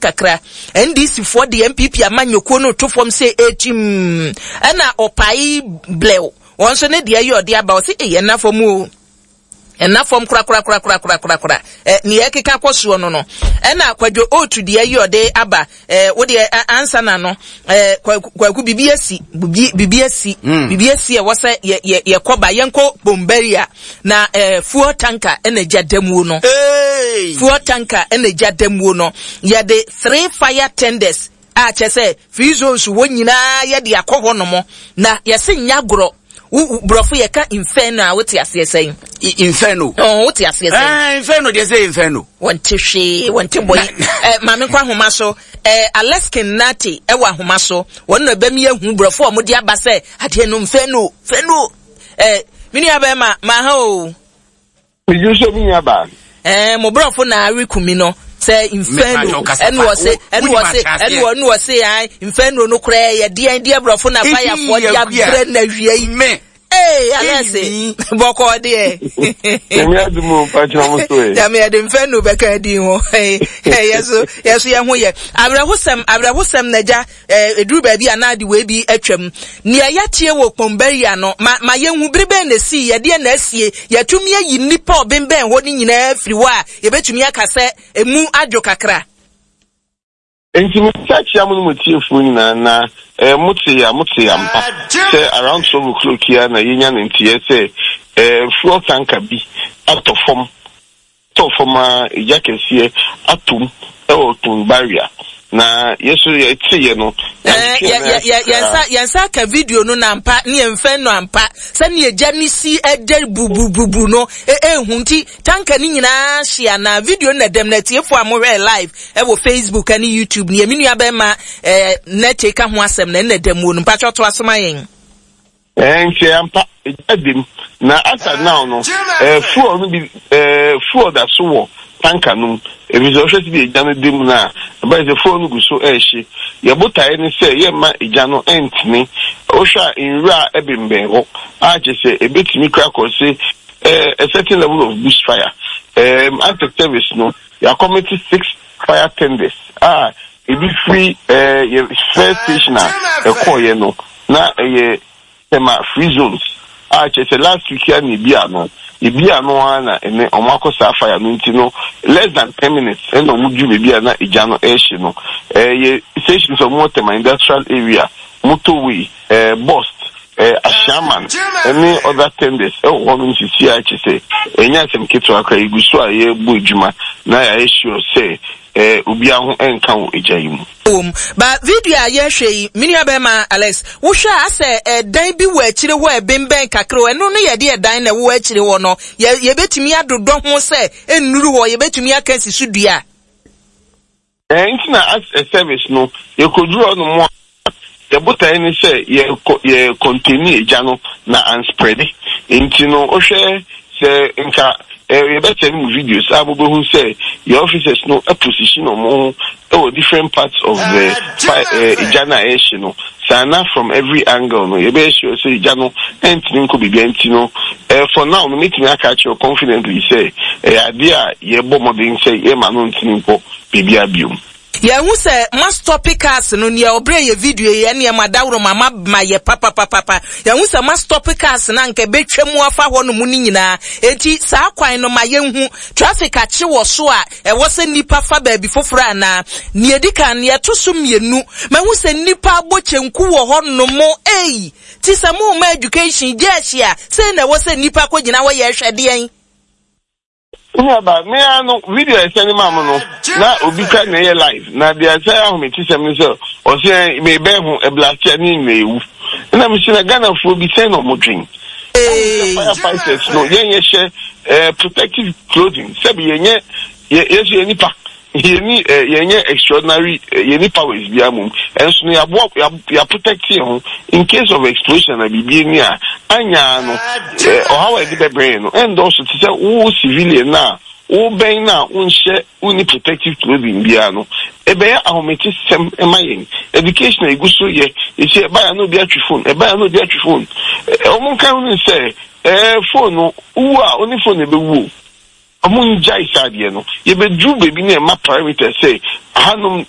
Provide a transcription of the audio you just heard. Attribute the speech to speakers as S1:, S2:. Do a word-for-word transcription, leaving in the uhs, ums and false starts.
S1: Kakra. N D C foɔ de N P P amanyɔkuo no to fam sɛ ekyim, ɛna ɔpae blɛw wɔn nso ne deɛ yɛ ɔde aba, ɔsi ɛyɛ nna fam o, ɛna fam korakorakorakorakorakora. Ɛ nea ɛkeka kɔ soɔ no no ɛna Kwadwo Otu deɛ yi ɔde aba. Ɛ wo deɛ ansa na no ɛ Kwaku, bibi asi, bibi bibi asi mm. bibi asi. Ɛwɔ sɛ yɛ yɛ yɛkɔ ba, yɛnkɔ Bombaria na ɛ fuel tanker ɛna gya damuo no. Fuel tanker ɛna gya damuo no. Yɛde three fire tenders a kyɛ sɛ free zones wɔ nyinaa yɛde akɔ hɔ nom na yɛsi nya gorɔ. Borɔfo yɛka inferno a, wote aseɛ sɛn?
S2: Inferno.
S1: Ɔn, wote aseɛ sɛn?
S2: Ɛɛ, inferno deɛ, sɛ inferno.
S1: Wɔnte hwee, wɔnte bɔyi. Ɛ maame nkɔ ahoma so. Ɛ Aleskin Nate ɛwɔ ahoma so. Wɔn na ɛbɛm yɛ hu borɔfo a wɔde aba sɛ adeɛ no inferno, inferno. Ɛ mi nua bɛrima maa ha o.
S3: Meju so, mi nua baa.
S1: Ɛɛ mo borɔfo na awe kumi no sɛ inferno, ɛna wɔse ɛna wɔse ɛna wɔne wɔse an inferno no koraa yɛ deɛn deɛ? Borɔfo na fayafoɔ de abrɛ na wie yi. Ee, Alɛse, bɔkɔɔ deɛ?
S3: Nyame adum o, mpakyerɛ mo so ɛ.
S1: Nyame yɛde inferno bɛka din ho. Yɛ so yɛ so yɛ ho yɛ awerɛhosɛm, awerɛhosɛm na gya ɛduru baabi a naade wei bi atwam. Nea yɛatie wɔ Kpɔnbɛria no, ma ma yɛnhu bere bɛn na esi, yɛdeɛ na asie, yɛtumi ayi nnipa a ɔbɛnbɛn hɔ no nyinaa firi hɔ a yɛbɛtumi aka sɛ emu adwo kakra?
S3: Nti mesa kyia mo no mo tiefoɔ nyinaa na eh, mote ya, mote ya mpa sɛ around twelve o'clock yi a na yɛnya ne nteɛ sɛ eh, fuel tanker bi atɔ fam, tɔ fam a egya kɛseɛ atom ɛwɔ Kpone Barrier na yɛso yɛteeɛ no.
S1: Yɛnsa aka video no na ampa ne yɛmfɛ no ampa sɛne agya ne si ɛdɛ bubububu no ɛhu. Nti tanker no nyinaa hyia na video no na dɛm na atiefoɔ a mohwɛ live ɛwɔ Facebook ne YouTube ne yɛme nua bɛma nɛte ka ho asɛm na ɛnna dɛm wɔ no. Mpakyɛ ɔto asoma yɛn.
S3: Nti ampa egya dem na asa now no, ɛɛ fuel no bi, ɛɛ fuel da so wɔ tanker no mu, efisɛ ɔhwɛ sɛ bi egya no dem na ɛbɛyɛ sɛ fuel no gu so ɛɛhye. Yɛ botaeɛ ne sɛ yɛmma egya no ɛntene. Wohwɛ a, nwura ɛbɛnbɛn hɔ a kyerɛ sɛ ebetumi kura kɔ se ɛɛ a certain level of bush fire. ɛɛm after service no, yɛa commit six fire tenders a ebi firi ɛɛ yɛ first station a ɛkɔɔyɛ no na ɛyɛ Tema Free Zones a kyerɛ sɛ last week ya na ebi ano ebi ano ara na ɛnɛ ɔmo akɔ saa fire no. Nti no less than ten minutes ɛna ɔmo duru beebi a na egya no ɛɛhye no. Ɛyɛ stations a ɔmo wɔ Tema Industrial Area, Motorway, ɛɛ Bost, ɛɛ Ashiaman ɛne other tenders ɛwɔ hɔnom sisi a kyerɛ sɛ ɛnyɛ asɛm ketewa koraa. Egu so a yɛrebɔ adwuma na yɛayɛ sure sɛ ɛɛ obiara ho ɛnka wɔ egya yi mu.
S1: Wɔm ba video a yɛhwɛ yi, me nua bɛrima Alex, wohwɛ a, asɛ ɛdan bi wɔ akyire hɔ a ɛbɛnbɛn kakra o. Ɛno no yɛde ɛdan na ɛwɔ akyire hɔ no, yɛ yɛbɛtumi adodɔ ho sɛ nnuru hɔ, yɛbɛtumi aka si so dua?
S3: Ɛɛ nti na as a service no, yɛkɔduru hɔ nom a, yɛbotae ne sɛ yɛ yɛ contain egya no na an spread. Nti no wohwɛ sɛ nka ɛɛ yɛbɛsɛn mu videos a mobɛhu sɛ yɛ officers no position ɔmo ho ɛwɔ different parts of the fire, ɛɛ egya no a ɛrehye no saa na from every angle no yɛbɛyɛ sure sɛ egya no ɛntumi nkɔ biribi. Nti no ɛɛ for now no, metumi aka akyerɛ confidently sɛ ɛyɛ adeɛ a yɛbɔ mmɔden sɛ yɛma no ntumi nkɔ biribi abiom.
S1: Yɛhu sɛ ma stop cars no. Nea ɔbrɛ yɛ video yi, ɛneɛ ma daworo ma ma ma yɛ papapapapa. Yɛhu sɛ ma stop cars na nka ɛbɛtwa mu afa hɔ nom no nyinaa. Enti saa kwan no, ma yɛnhu traffic akye wɔ so a ɛwɔ sɛ nnipa fa baabi foforɔ anaa? Nea ɛdi kan, nea ɛto so mmienu, mahu sɛ nnipa abɔ kyɛnku wɔ hɔ nom. Ei, ti sɛ mo ma education gye ahyia sei na ɛwɔ sɛ nnipa kɔgyina hɔ yɛhwɛ deɛn?
S3: Nuaba, mea no video a ɛsɛne maa mo no na obi ka na ɛyɛ live na deɛ ɛsɛ ahometesɛm no sɛ ɔsɛ mebɛn ho ɛ blast a ne nyina ɛwu. Ɛna mesɛ na Ghanafoɔ bi sɛn na ɔmo dwen firefighters no? Yɛn yɛhyɛ eh, protective clothing, sɛbi yɛnyɛ yɛ yɛso yɛ nipa, yɛni eh, yɛnyɛ extraordinary, eh, yɛni powers bi amom. Ɛnso no yɛaboa yɛ protect yɛn ho in case of explosion na biribi ni a anyaa no, eh, ɔhaw a yɛde bɛbrɛ yɛn no ɛndɔɔso te sɛ wo civilian na wobɛn na wonhyɛ, wonni protective clothing biara no. Ɛbɛyɛ ahometesɛm ɛma yɛn education a egu so yɛ esi. Ɛbaa na obi atwi phone, ɛbaa na obi atwi phone. Ɔmo nka ho ne sɛ ɛɛ phone no wu a, ɔne phone na ɛbɛwu o. Ɔmo ngyae saa adeɛ no. Yɛbɛduru baabi ne ɛma parameter sɛ ahanom